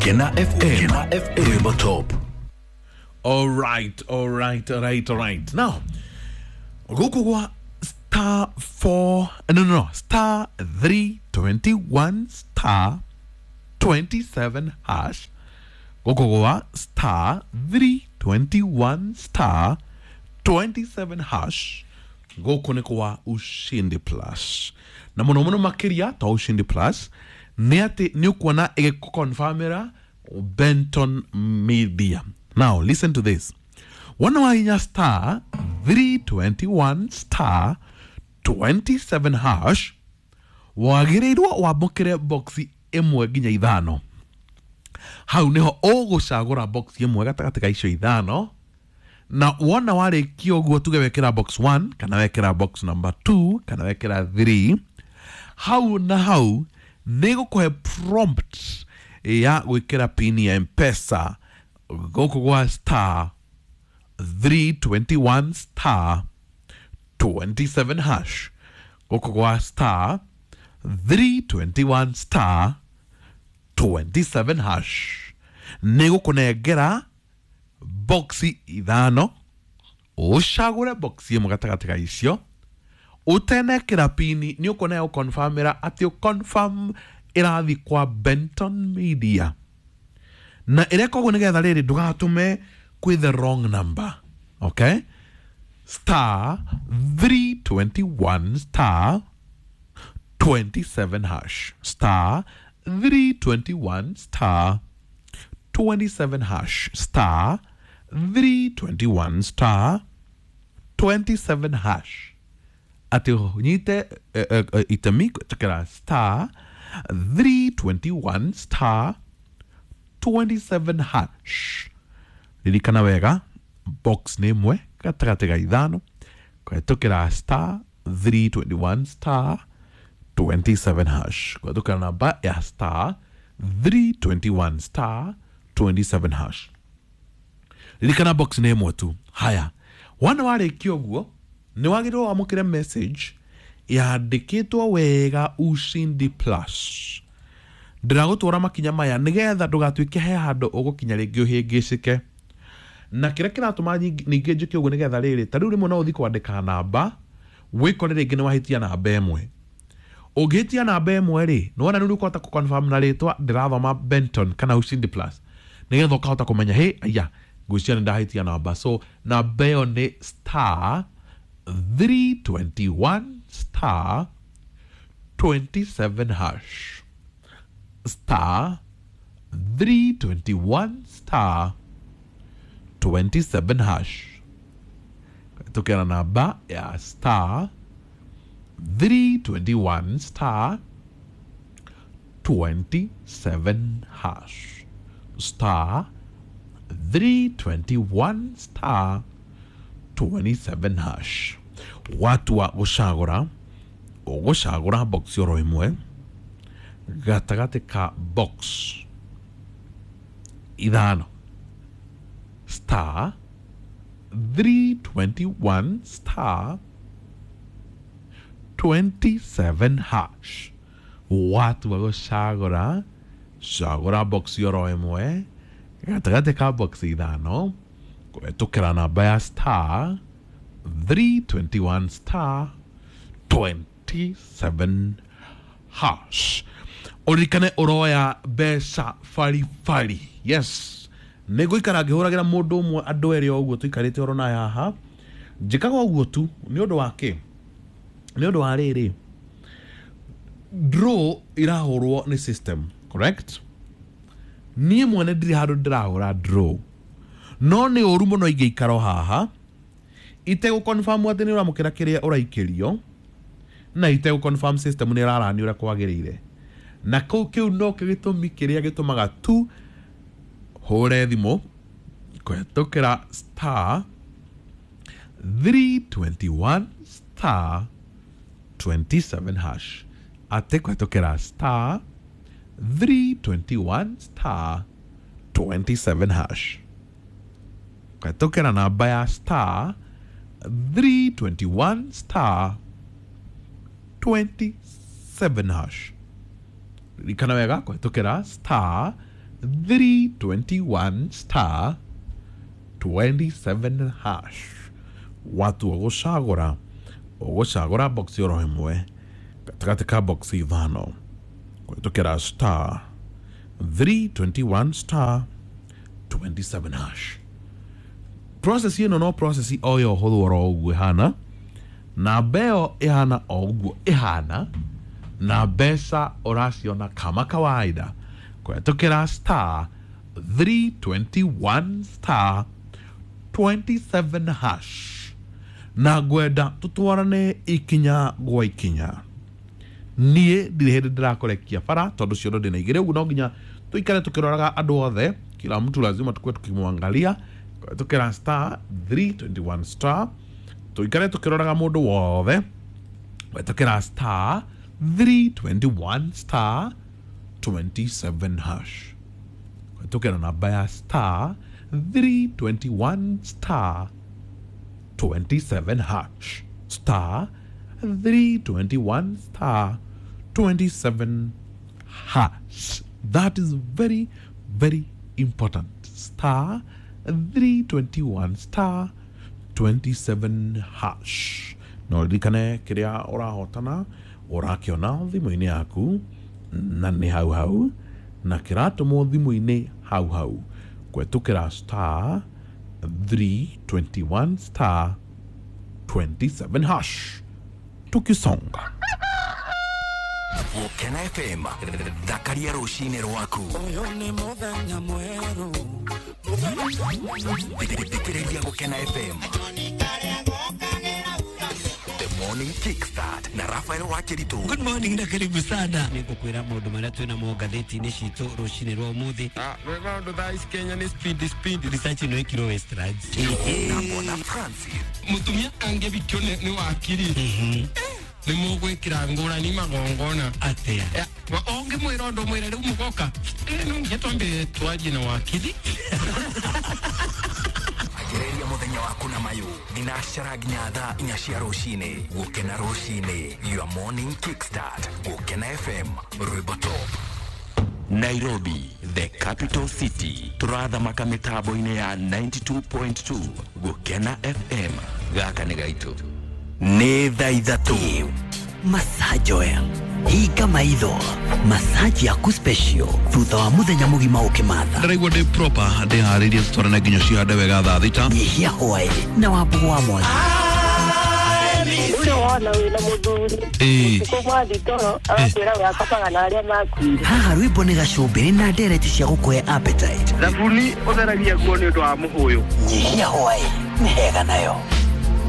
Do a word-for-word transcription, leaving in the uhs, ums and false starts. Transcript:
Kena F M, Kena F M, Rwimbo Top. All right, all right, all right, all right. Now, gũkũ gwa star four, no, no, no, star three twenty-one star twenty-seven hash. Gũkũ gwa star three twenty-one star twenty-seven hash. Gũkũ nĩ kwa Ushindi Plus. Na mũno mũno makĩria ta Ushindi Plus nĩ atĩ nĩ ũkuona ĩgĩkũconfirmĩra Benton Media. Now listen to this. Wona wahinya star three twenty-one star twenty-seven hash, wagĩrĩirwo wamũkĩre boxi ĩmwe nginya ithano. Hau nĩho ũgũcagũra box ĩmwe gatagatĩ ka icio ithano, na wona warĩkia ũguo tuge wekĩra box one kana wekĩra box number two kana wekĩra three, hau na hau nĩ gũkũhe prompt ya gwĩkĩra pin ya M-Pesa gũkũ gwa star three twenty-one star twenty-seven hash. Gũkũ gwa star three twenty-one star twenty-seven hash nĩ gũkũnengera boxi ithano, ũcagũre boxi ĩmwe gatagatĩ ka icio, ũtenekĩra pini nĩ ũkuona gũconfirmĩra atĩ ũconfirm ĩrathiĩ kwa Benton Media. Na ĩreka ũguo nĩgetha rĩrĩ ndũgatũme kwĩ the wrong number. Okay? Star three twenty-one star twenty-seven hash. Star three twenty-one star twenty-seven hash. Star three twenty-one star twenty-seven hash. Atĩ ũnyite, eh, eh, eh, itemi gwĩtĩkĩra star three twenty-one star twenty-seven hash. Ririkana wega, box nĩ ĩmwe gatagatĩ ka ithano, kũhetũkĩra star three twenty-one star twenty-seven hash. Kũhetũkĩra namba ya star three twenty-one star twenty-seven hash. Ririkana box nĩ ĩmwe tu. Haya, wona warĩkia ũguo nĩ wagĩrĩirwo wamũkĩre message yandĩkĩtwo wega Ushindi Plus. Ndĩragũtwara makinya maya nĩgetha ndũgatuĩke he handũ ũgũkinya rĩngĩ ũhĩngĩcĩke. Na kĩrĩa kĩratũma nying-, ningĩ njĩke ũguo nĩgetha rĩrĩ, ta rĩu rĩmwe no ũthiĩ kwandĩka namba, wĩkore rĩngĩ nĩ wahĩtia namba ĩmwe. Ũngĩhĩtia namba ĩmwe rĩ, nĩ wona rĩu ũkũhota kũ-confirm na rĩtwa ndĩrathoma Benton kana Ushindi Plus, nĩgetha ũkahota kũmenya, hĩ, aya, ngwĩciria nĩ ndahĩtia namba. So namba ĩyo nĩ star three twenty-one star twenty-seven hash. Star three twenty-one star twenty-seven hash. Tukera namba ya star three twenty-one star twenty-seven hash. Star three twenty-one star twenty-seven hash. Watu wa gũcagũra, ũgũcagũra box oro ĩmwe gatagatĩ ka box ithano. Star three twenty-one star twenty-seven hash. Watu wa gũcagũra, cagũra box oro ĩmwe gatagatĩ ka box ithano, kũhetũkĩra namba ya star three twenty-one star twenty-seven hash. Ũririkane ũroya mbeca baribari. Yes. Nĩ ngũikara ngĩhũragĩra mũndũ ũmwe andũ erĩ o ũguo tũikarĩte oro na haha. Njĩkaga ũguo tu nĩ ũndũ wa kĩ? Nĩ ũndũ wa rĩrĩ, draw irahũrwo nĩ system, correct? Niĩ mwene ndirĩ handũ ndĩrahũra draw, no nĩ ũru mũno ingĩikara o haha itegũ-confirm atĩ nĩ ũramũkĩra kĩrĩa ũraikĩrio, na itegũ-confirm system nĩ ĩrarani ũrĩa kwagĩrĩire. Na kũu kĩu no kĩo gĩtũmi kĩrĩa gĩtũmaga tu hũre thimũ kũhetũkĩra star three twenty-one star twenty-seven hash. Atĩ kũhetũkĩra star three twenty-one star twenty-seven hash. Kũhetũkĩra namba ya star three twenty-one star twenty-seven hash. Ririkana wega kũhetũkĩra star three twenty-one star twenty-seven hash. Watua gũcagũra ũgũcagũra box oro ĩmwe gatagatĩ ka box ithano kũhĩtũkĩra star three twenty-one star twenty-seven hash. Process ĩno no process o yo hũthũ oro ũguo ĩhana, na mbeo ĩhana o ũguo ĩhana, na mbeca ũraciona kama kawaida kũhĩtũkĩra star three twenty-one star twenty-seven hash. Na ngwenda tutwarane ikinya gwa ikinya. Niĩ ndirĩ hĩndĩ ndĩrakũrekia bara tondũ ciondo ndĩna igĩrĩ, ũguo no nginya tuikare tukĩroraga andũ othe, kila mtu lazima tukue tukimwangalia. Tukĩra star three twenty-one star tuikare tukĩroraga mũndũ wothe. Tukĩra star three twenty-one star twenty-seven hash. Tukĩra namba ya star three twenty-one star twenty-seven hash. Star three twenty-one star twenty-seven hash. That is very, very important. Star three twenty-one star twenty-seven hash. No ririkane kiria urahotana urakiona thimu-inĩ yaku na nĩ hau hau na kĩratũmwo thimũ-inĩ hau hau kũhĩtũkĩra star three twenty-one star twenty-seven hash. Tukisonga Gũkena F M, thakaria rũcinĩ rwaku. Thikĩrĩria Gũkena F M. The Morning Kickstart na Rafael Wakiritu. Good morning na karibu sana. Nĩngũkwĩra maũndũ marĩa twĩna mo ngathĩti-inĩ citũ rũcinĩ rwa ũmũthĩ. Ah, rwĩmbo thaa ici Kenya nĩ speed speed. Research ĩno ĩkirwo Westlands. Na Bwana Francis. Mũtumia angĩbikio nĩ wakiri. Nĩ mũgwĩkĩra ngũrani magongona. Atĩa? Ũngĩmwĩra ũndũ mwĩre rĩu mũgoka. No nginya twambe twarie na wakiri. Anjĩrĩria mũthenya waku na mayũ thinacara nginya thaa inya cia rũcinĩ. Gũkena rũcinĩ, your morning kickstart. Gũkena F M, rwĩmbo top. Nairobi, the capital city. Turathamaka mĩtambo-inĩ ya ninety-two point two. Gũkena F M, gaka nĩ gaitũ. Nĩ thaa ithatũ. Massage oil. Hinga maitho. Massage yaku special thutha wa muthenya mugima ukimatha. Ndĩraigua ndĩ proper ndĩharĩirie tũtwarane nginya cihande wega thaa thita. Nyihia hwaĩ na wambugu wa mwangi. Ũrĩa wona wĩna mũthuri ũtukũ mwathi toro agakwĩra we akomaga na arĩa makuire. Haha rwĩmbo nĩ gacũmbĩrĩ na ndereti cia gũkũhe appetite. Thabuni ũtheragia nguo nĩ ũndũ wa mũhũyũ. Nyihia hwaĩ nĩ hega nayo.